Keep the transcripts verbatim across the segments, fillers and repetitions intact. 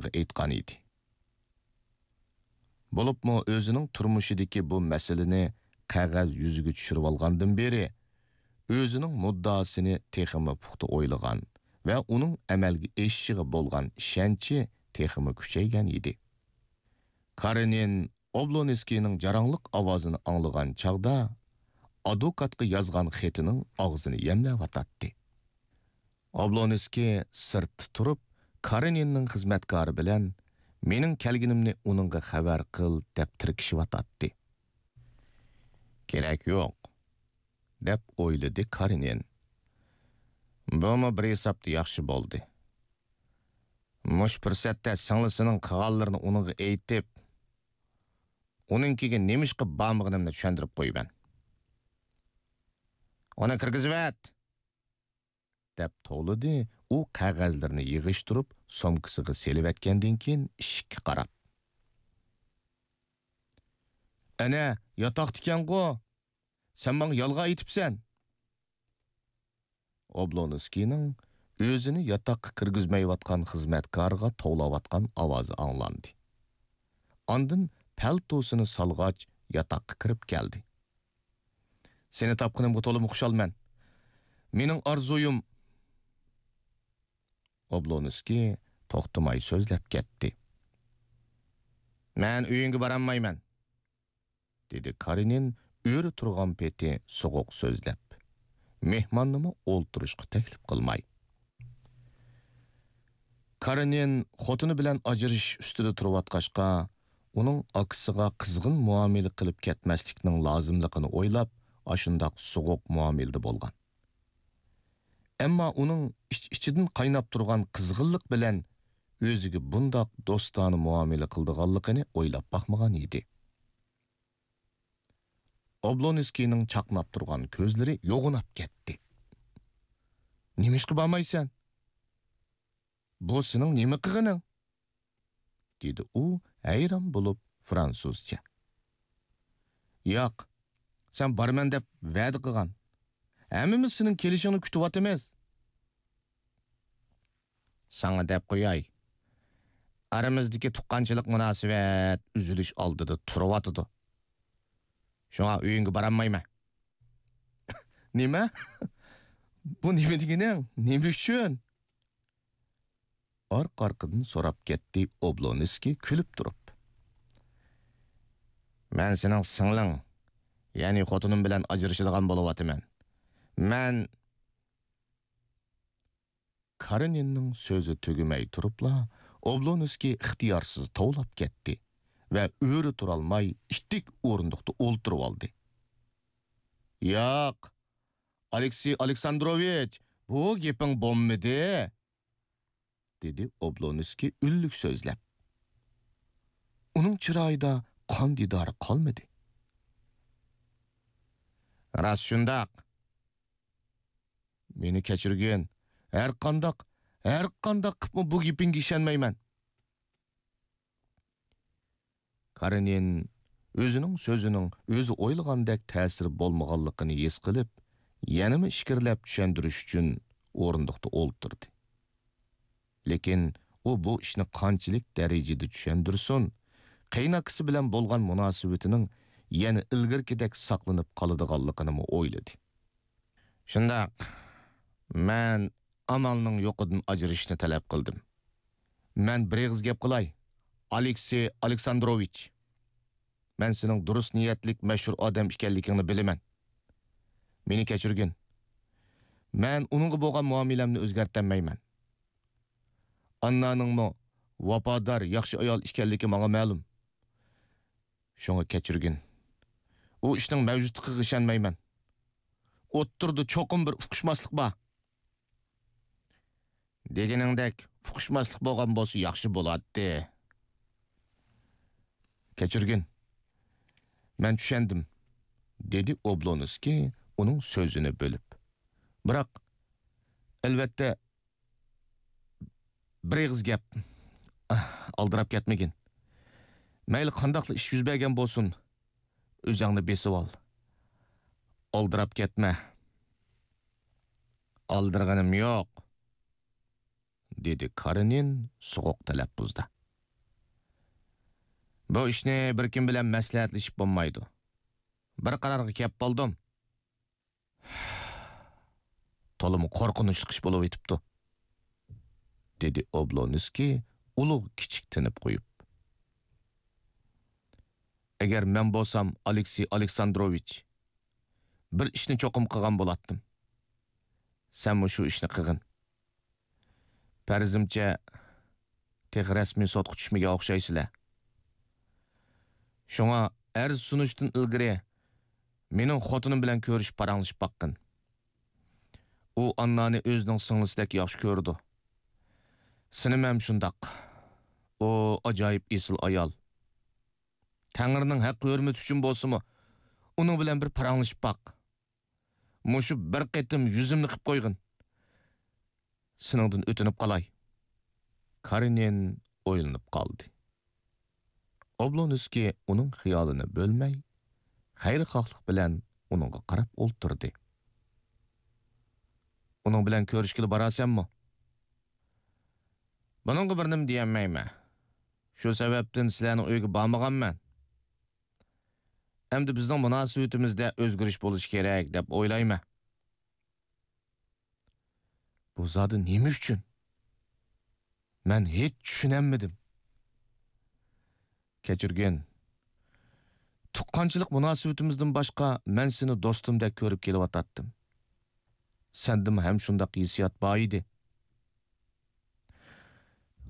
ئېيتقان ئىدى. بولۇپمۇ ئۆزىنىڭ تۇرمۇشىدىكى بۇ مەسىلىنى قەغەز يۈزىگە چۈشۈرۈۋالغاندىن بېرى، ئۆزىنىڭ مۇددىئاسىنى تېخىمۇ پۇختا ئويلىغان ۋە ئۇنىڭ ئەمەلگە ئېشىشىغا بولغان ئىشەنچى تېخىمۇ كۈچەيگەن ئىدى. كارېنىن ئوبلونسكىينىڭ جاراڭلىق ئاۋازىنى ئاڭلىغان چاغدا، ئادۋوكاتقا يازغان خېتىنىڭ ئاغزىنى يەملەۋاتاتتى. ئوبلونسكىي سىرتتا تۇرۇپ، كارېنىننىڭ خىزمەتكارى بىلەن «مېنىڭ كەلگىنىمنى ئۇنىڭغا خەۋەر قىل» دەپ تىركىشىۋاتاتتى. «كېرەك يوق» دەپ ئويلىدى كارېنىن. بۇمۇ بىر ھېسابتا ياخشى بولدى. مۇشۇ پۇرسەتتە سىڭلىسىنىڭ قىلغانلىرىنى ئۇنىڭغا ئېيتىپ، ئۇنىڭكىگە نېمىشقا بارمىغىنىمنى چۈشەندۈرۈپ قويىمەن. «ئۇنى كىرگۈزۈۋەت!» دەپ توۋلىدى ئۇ قەغەزلىرىنى يىغىشتۇرۇپ سومكىسىغا سېلىۋەتكەندىن كېيىن ئىشىككە قاراپ. «ئەنە، ياتاقتىكەنغۇ! سەن ماڭا يالغان ئېيتىپسەن!» ئوبلونسكىينىڭ ئۆزىنى ياتاققا كىرگۈزمەيۋاتقان خىزمەتكارىغا توۋلاۋاتقان ئاۋازى ئاڭلاندى. ئاندىن پەلتوسىنى سالغاچ ياتاققا كىرىپ كەلدى. «سېنى تاپقىنىمغا تولىمۇ خۇشالمەن. مېنىڭ ئارزۇيۇم...» ئوبلونسكىي توختىماي سۆزلەپ كەتتى. «مەن ئۆيۈڭگە بارالمايمەن.» دېدى كارېنىن ئۆرە تۇرغان پېتى سوغۇق سۆزلەپ، مېھماننىمۇ ئولتۇرۇشقا تەكلىپ قىلماي. كارېنىن خوتۇنى بىلەن ئاجرىشىش ئۈستىدە تۇرۇۋاتقاچقا، ئۇنىڭ ئاكىسىغا قىزغىن مۇئامىلە قىلىپ كەتمەسلىكنىڭ لازىملىقىنى ئويلاپ، ئاشۇنداق سوغۇق مۇئامىلىدە بولغان. ئەمما ئۇنىڭ ئىچ-ئىچىدىن قايناپ تۇرغان قىزغىنلىق بىلەن ئۆزىگە بۇنداق دوستانە مۇئامىلە قىلىدىغانلىقىنى ئويلاپ باقمىغان ئىدى. ئوبلونسكىينىڭ چاقناپ تۇرغان كۆزلىرى يوغىناپ كەتتى. «نېمىشقا بارمايسەن؟ بۇ سېنىڭ نېمە قىلغىنىڭ؟» دېدى ئۇ ھەيران بولۇپ فرانسۇزچە. «ياق، سەن بارىمەن دەپ ۋەدە قىلغان. ھەممىمىز سېنىڭ كېلىشىڭنى كۈتۈۋاتىمىز.» ساڭا دەپ قوياي، ئارىمىزدىكى تۇغقانچىلىق مۇناسىۋەت ئۈزۈلۈش ئالدىدا تۇرۇۋاتىدۇ. شۇڭا ئۆيۈڭگە بارالمايمەن. نېمە؟ بۇ نېمە دېگىنىڭ؟ نېمە ئۈچۈن؟ ئارقا-ئارقىدىن سوراپ كەتتى ئوبلونسكىي كۈلۈپ تۇرۇپ. مەن سېنىڭ سىڭلىڭ، يەنى خوتۇنۇم بىلەن ئاجرىشىدىغان بولۇۋاتىمەن. مەن كارېنىننىڭ سۆزى تۈگىمەي تۇرۇپلا، ئوبلونسكىي ئىختىيارسىز توۋلاپ كەتتى ۋە ئۆرە تۇرالماي ئىتتىك ئورۇندۇقتا ئولتۇرۇۋالدى. ياق، ئالېكسېي ئالېكساندروۋىچ، بۇ گېپىڭ بولمىدى، دېدى ئوبلونسكىي ئۈنلۈك سۆزلەپ. ئۇنىڭ چىرايىدا قان دىدارى قالمىدى. راست شۇنداق. مېنى كەچۈرگىن. ھەرقانداق، ھەرقانداق قىپمۇ بۇ گېپىڭگە ئىشەنمەيمەن. كارېنىن ئۆزىنىڭ سۆزىنىڭ ئۆزى ئويلىغاندەك تەسىرى بولمىغانلىقىنى ھېس قىلىپ، يەنىمۇ ئىچكىرىلەپ چۈشەندۈرۈش ئۈچۈن ئورۇندۇقتا ئولتۇردى. لېكىن ئۇ بۇ ئىشنى قانچىلىك دەرىجىدە چۈشەندۈرسۇن، قېيىنئاكىسى بىلەن بولغان مۇناسىۋىتىنىڭ يەنە ئىلگىرىكىدەك ساقلىنىپ قالىدىغانلىقىنىمۇ ئويلىدى. شۇنداق، مەن ئامالنىڭ يوقىدىن ئاجرىشىشنى تەلەپ قىلدىم. مەن بىر ئېغىز گەپ قىلاي، ئالېكسېي ئالېكساندروۋىچ. مەن سېنىڭ دۇرۇس نىيەتلىك، مەشھۇر ئادەم ئىكەنلىكىڭنى بىلىمەن. مېنى كەچۈرگىن. مەن ئۇنىڭغا بولغان مۇئامىلەمنى ئۆزگەرتەلمەيمەن. ئاننانىڭمۇ ۋاپادار، ياخشى ئايال ئىكەنلىكى ماڭا مەلۇم. شۇڭا كەچۈرگىن. ئۇ ئىشنىڭ مەۋجۇتلۇقىغا ئىشەنمەيمەن. ئوتتۇرىدا چوقۇم بىر ئۇقۇشماسلىق بار. دېگىنىڭدەك ئۇقۇشماسلىق بولغان بولسا ياخشى بولاتتى. كەچۈرگىن. مەن چۈشەندىم، دېدى ئوبلونسكىي ئۇنىڭ سۆزىنى بۆلۈپ. بىراق، ئەلۋەتتە، بىر ئېغىز گەپ. ئالدىراپ كەتمىگىن. مەيلى قانداقلا ئىش يۈز بەرگەن بولسۇن، ئۆزۈڭنى بېسىۋال. ئالدىراپ كەتمە. ئالدىرىغىنىم يوق. دېدى كارېنىن سوغۇق تەلەپپۇزدا. بۇ ئىشنى بىر كىم بىلەن مەسلىھەتلىشىپ بولمايدۇ. بىر قارارغا كەپ بولدۇم. تولىمۇ قورقۇنچلۇق ئىش بولۇۋېتىپتۇ، دېدى ئوبلونسكىي ئۇلۇغ كىچىك تىنىپ قويۇپ. ئەگەر مەن بولسام، ئالېكسېي ئالېكساندروۋىچ، بىر ئىشنى چوقۇم قىلغان بولاتتىم. سەنمۇ شۇ ئىشنى قىلغىن. پەرىزىمچە، تېخى رەسمىي سوتقا چۈشمىگەن ئوخشايسىلەر. شۇڭا ئەرز سۇنۇشتىن ئىلگىرى مېنىڭ خوتۇنۇم بىلەن كۆرۈشۈپ پاراڭلىشىپ باققىن. ئۇ ئاننانى ئۆزىنىڭ سىڭلىسىدەك ياخشى كۆرىدۇ. سىنىم ھەم شۇنداق. ئۇ ئاجايىپ ئېسىل ئايال. تەڭرىنىڭ ھەق ھۆرمىتى ئۈچۈن بولسىمۇ، ئۇنىڭ بىلەن بىر پاراڭلىشىپ باق. مۇشۇ بىر قېتىم يۈزۈمنى قىپ قويغىن. سېنىڭدىن ئۆتۈنۈپ قالاي. كارېنىن ئويلىنىپ قالدى. ئوبلونسكىي ئۇنىڭ خىيالىنى بۆلمەي، خەيرخاھلىق بىلەن ئۇنىڭغا قاراپ ئولتۇردى. ئۇنىڭ بىلەن كۆرۈشكىلى باراسەنمۇ؟ بۇنىڭغا بىر نېمە دېيەلمەيمەن. شۇ سەۋەبتىن سىلەرنىڭ ئۆيىگە بارمىغانمەن. ئەمدى بىزنىڭ مۇناسىۋىتىمىزدە ئۆزگىرىش بولۇشى كېرەك دەپ ئويلايمەن. بۇ زادى نېمە ئۈچۈن؟ مەن ھېچ چۈشىنەلمىدىم. كەچۈرگىن. تۇغقانچىلىق مۇناسىۋىتىمىزدىن باشقا، مەن سېنى دوستۇمدەك كۆرۈپ كېلىۋاتاتتىم. سەندىمۇ ھەم شۇنداق ھېسسىيات بار ئىدى.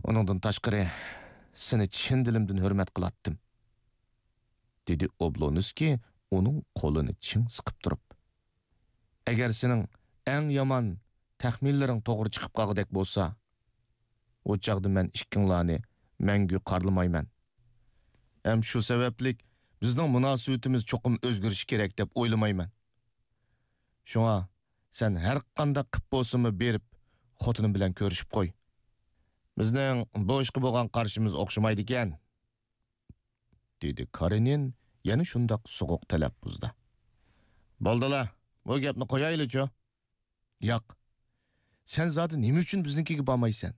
ئۇنىڭدىن تاشقىرى، سېنى چىن دىلىمدىن ھۆرمەت قىلاتتىم، دېدى ئوبلونسكىي ئۇنىڭ قولىنى چىڭ سىقىپ تۇرۇپ. ئەگەر سېنىڭ ئەڭ يامان تەخمىنلىرىڭ توغرا چىقىپ قالغۇدەك بولسا، ئۇ چاغدا مەن ئىككىڭلارنى مەڭگۈ قارلىمايمەن. ھەم شۇ سەۋەبلىك بىزنىڭ مۇناسىۋىتىمىز چوقۇم ئۆزگىرىشى كېرەك دەپ ئويلىمايمەن. شۇڭا سەن ھەر قانداق قىپ بولسىمۇ بېرىپ، خوتۇنۇم بىلەن كۆرۈشۈپ قوي. بىزنىڭ بۇ ئىشقا بولغان قارىشىمىز ئوخشىمايدىكەن، دېدى كارېنىن يەنە شۇنداق سوغۇق تەلەپپۇزدا. بولدىلا، بۇ گەپنى قويايلىچۇ. ياق، سەن زادى نېمە ئۈچۈن بىزنىڭكىگە بارمايسەن؟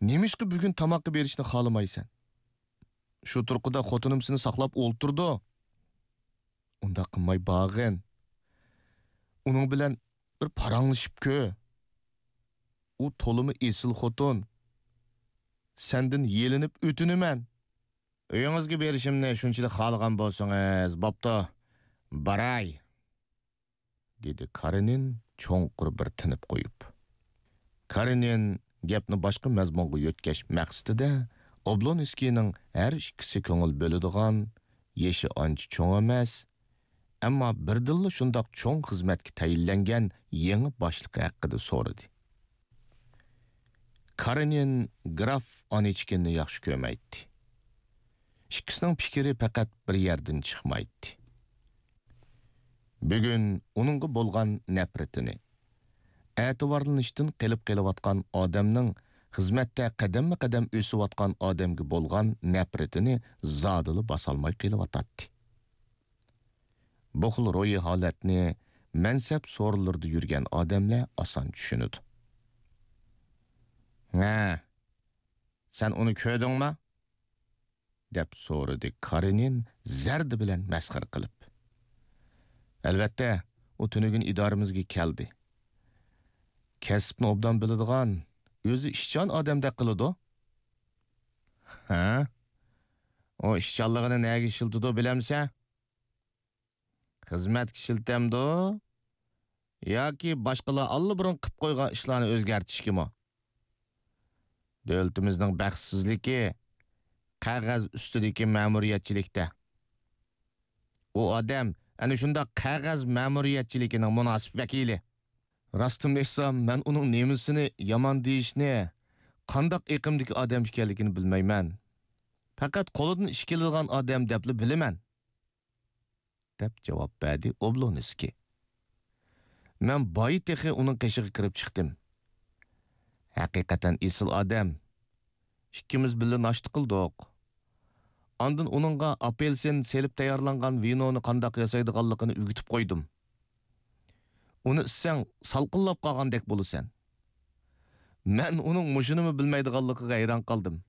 نېمىشقا بۈگۈن تاماققا بېرىشنى خالىمايسەن؟ شۇ تۇرقىدا خوتۇنۇم سېنى ساقلاپ ئولتۇرىدۇ. ئۇنداق قىلماي بارغىن. ئۇنىڭ بىلەن بىر پاراڭلىشىپ كۆر. ئۇ تولىمۇ ئېسىل خوتۇن. سەندىن يېلىنىپ ئۆتۈنىمەن. ئۆيىڭىزگە بېرىشىمنى شۇنچىلىك خالىغان بولسىڭىز، بوپتۇ، باراي. دېدى كارېنىن چوڭقۇر بىر تىنىپ قويۇپ. كارېنىن گەپنى باشقا مەزمۇنغا يۆتكەش مەقسىتىدە ئوبلونسكىينىڭ ھەر ئىككىسى كۆڭۈل بۆلىدىغان، يېشى ئانچە چوڭ ئەمەس، ئەمما بىردىنلا شۇنداق چوڭ خىزمەتكە تەيىنلەنگەن يېڭى باشلىقى ھەققىدە سورىدى. كارېنىن گراف ئانىچكىننى ياخشى كۆرمەيتتى. ئىككىسىنىڭ پىكرى پەقەت بىر يەردىن چىقمايتتى. بۈگۈن ئۇنىڭغا بولغان نەپرىتىنى، ئەتىۋارلىنىشتىن قېلىپ قېلىۋاتقان ئادەمنىڭ خىزمەتتە قەدەممۇ قەدەم ئۆسۈۋاتقان ئادەمگە بولغان نەپرىتىنى زادىلا باسالماي قېلىۋاتاتتى. بۇ خىل روھىي ھالەتنى مەنسەپ سورۇنلىرىدا يۈرگەن ئادەملەر ئاسان چۈشىنىدۇ. ھە، سەن ئۇنى كۆردۈڭمۇ؟ دەپ سورىدى كارېنىن زەردە بىلەن مەسخىرە قىلىپ. ئەلۋەتتە، ئۇ تۈنۈگۈن ئىدارىمىزگە كەلدى. كەسىپنى ئوبدان بىلىدىغان، ئۆزى ئىشچان ئادەمدەك قىلىدۇ. ھە؟ ئۇ ئىشچانلىقىنى نەگە ئىشلىتىدۇ بىلەمسەن؟ خىزمەتكە ئىشلىتەمدۇ؟ ياكى باشقىلار ئاللىبۇرۇن قىپ قويغان ئىشلارنى ئۆزگەرتىشكىمۇ؟ دۆلىتىمىزنىڭ بەختسىزلىكى قەغەز ئۈستىدىكى مەمۇرىيەتچىلىكتە. ئۇ ئادەم ئەنە شۇنداق قەغەز مەمۇرىيەتچىلىكىنىڭ مۇناسىپ ۋەكىلى. راستىمنى ئېيتسام، مەن ئۇنىڭ نېمىسىنى يامان دېيىشنى، قانداق ئېقىمدىكى ئادەم ئىكەنلىكىنى بىلمەيمەن. پەقەت قولىدىن ئىش كېلىدىغان ئادەم دەپلا بىلىمەن. دەپ جاۋاب بەردى ئوبلونسكىي. مەن بايا تېخى ئۇنىڭ قېشىغا كىرىپ چىقتىم. ھەقىقەتەن ئېسىل ئادەم. ئىككىمىز بىللە ناشتا قىلدۇق. ئاندىن ئۇنىڭغا ئاپېلسىن سېلىپ تەييارلانغان ۋىنونى قانداق ياسايدىغانلىقىنى ئۆگىتىپ قويدۇم. ئۇنى ئىچسەڭ، سالقىنلاپ قالغاندەك بولىسەن. مەن ئۇنىڭ مۇشۇنىمۇ بىلمەيدىغانلىقىغا ھەيران قالدىم.